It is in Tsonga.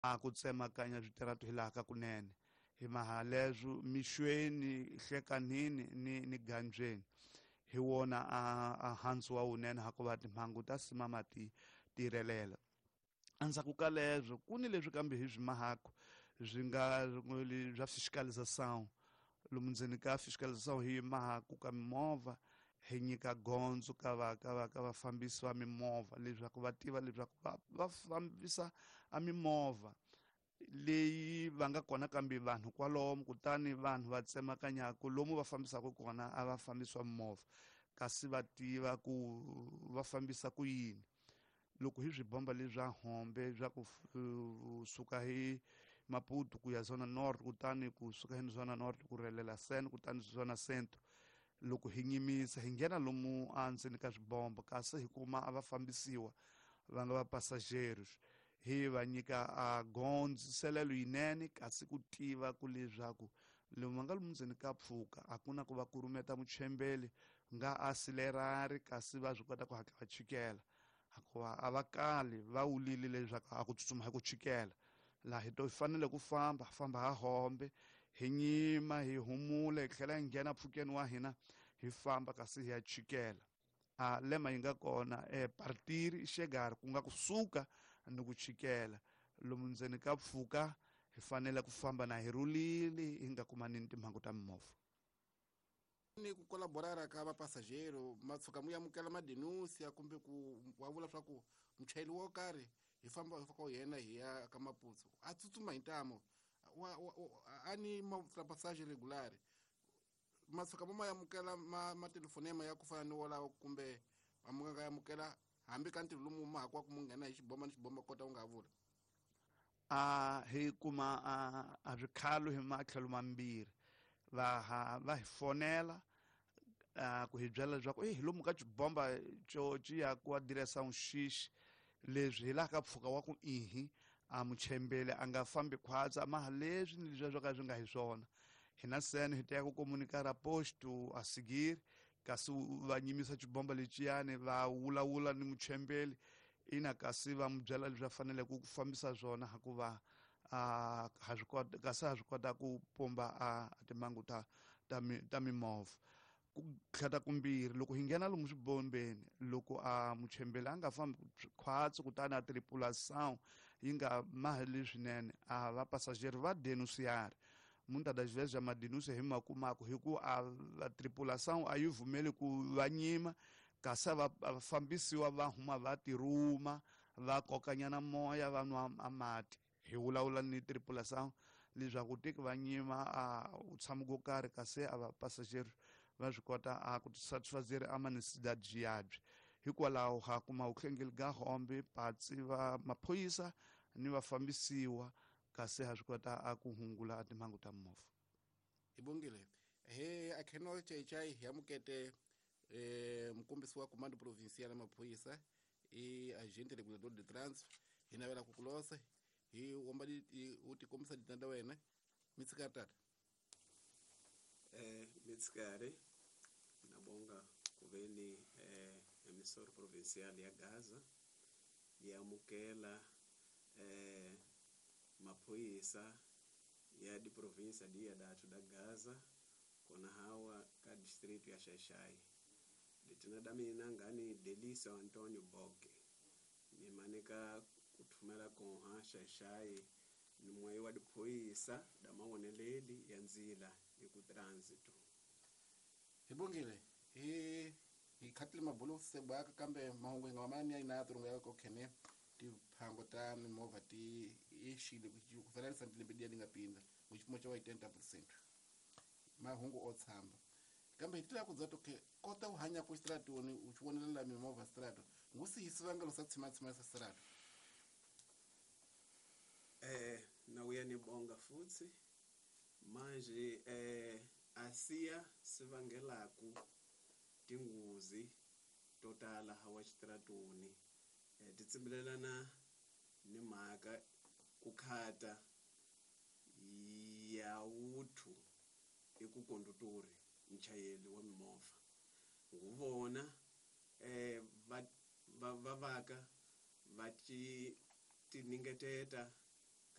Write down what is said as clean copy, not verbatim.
A ku tsemakanya switiratu hi laha ka kunene hi maha leswo mixweni hlekanini ni gandzweni hi wona a handzu wa wunene hakuva timhangu ta simama ti tirhelela. Endzhaku ka leswo ku ni leswi kambe hi swi mahaku swi nga bya fiscalização. Lomu ndzeni ka fiscalização hi mahaku ka mimovha hi nyika gondzo ka va ka va ka vafambisi va mimovha leswaku va tiva leswaku va fambisa a mimovha leyi va nga kona kambe vanhu kwalomu, kutani vanhu va tsemakanyaka lomu va fambisaka kona a va fambisiwa mimovha kasi va tiva ku va fambisa ku yini. Loko hi swibomba leswi swa hombe swa ku suka hi Maputo ku ya Zona North, kutani ku suka hi Zona North ku rhelela Sen, kutani Zona Centro, loko hi nyimisa hi nghena lomu endzeni ka swibomba kasi hi kuma a va fambisiwa va nga va passageiros, hi va nyika a gondziselelo yinene kasi ku tiva ku leswaku lomu va nga lomu ndzeni ka pfuka a ku na ku va kurumeta muchembeli nga asilerari kasi va swi kota ku hatla va chikela, hikuva a va kali va wulile leswaku a ku tsutsuma hi ku chikela. Laha hi to fanele ku famba famba ha hombe hi nyima hi humula hi tlhela hi nghena pfukeni wa hina hi famba kasi hi ya chikela. A lema yi nga kona partiri xegari ku nga kusuka ni ku chikela lomu ndzeni ka pfuka hi fanele ku famba na hi rhulile hi nga kumani ni timhangu ta mimovha. Ni ku kolaborara ka vapasajero ma tshuka mu amukela madenusia kumbe ku wa vula swa ku muchayeri wo karhi hi famba hi faka yena hi ya ka Maputo a tsutsuma hi ntamo a ni mapassage regular ma tshuka mo ma amukela ma telefonema ya ku fana ni wolawo kumbe ma mu nga amukela hambi ka ntirho lomu ma hakwa ku mu nghena hi xibomba ni xibomba kota u nga vula. A hi kuma a swikhalo hi matlhelo mambirhi, va hi fonela ku hi byela leswaku hi lomu ka xibomba xo xi ya ku adiresa xixi leswi hi laha ka pfuka wa ku ihi a muchembele a nga fambi khwatsa maha leswi ni leswi swo ka swi nga hi swona. Hina sene hi teka ku comunicar posto a seguir kasi va nyimisa xibomba lexiyani va vulavula ni muchembeli ina kasi va mu byela leswi va faneleke ku fambisa swona hikuva ha swi kota kasi ha swi kota ku pumba a timhangu ta mimovha. Ku tlhata kumbirhi loko hi nghena lomu swibombeni loko a muchembeli a nga fambi khwatsi kutani a tripulação yi nga maheli swinene a va passageiro va denunciar muitas das vezes a madenúncia hi makumako hi ku a tripulação a yi vumeli ku va nyima kasi va fambisiwa va huma va tirhuma va kokanyana moya va nwa mati. Hi vulavula ni tripulação leswaku teki va nyima a u tshama ko karhi kasi a va passageiro va swi kota a ku satisfazer a necessidade yabye. Hikwalaho ha kuma vuhlengeli ga hombe patsi va maphorisa ni vafambisiwa kasi ha swi kota a ku hungula timhangu ta mimovha. Hi bongile he akheno chaichai hi amukete mukombisi wa comando provincial ya maphorisa i agente regulador de trânsito hi navela ku kulosa hi womba u tikombisa ditanda wena mitsikari tata. Mitsikari nabonga kuveni emissora provincial ya Gaza yamukela maphorisa ya di província dia datu da Gaza kona hawa ka distrito ya Xai-Xai. Ditina da mina ngani Delício Antonio Boke ni manika kuthumela konha Xai-Xai ni mwayi wa diphorisa da mawoneleli ya ndzila hi ku trânsito. Hi bongile hi khatile mabulo sebaka kambe mahungu hi nga mamani ya ina turungu ya ko khene tiphango ta mimovha ti exile ku fananisa ni lembe liya li nga pindza ku xipimo xa 80% mahungu o tshamba kambe hi tila ku dza toke kota ku hanya ku stratoni u xi vonelela mimovha strato ngusi hi sivangelo sa tshimatsima sa strato. Na uya ni bonga futhi manje asiya sivangelaku tinghozi to tala hawa xitratoni ti tsimbilelana ni mhaka ku khata ya wuthu i ku kondutori nchayeli wa mimovha nguvona va vaka va ti tiningeteta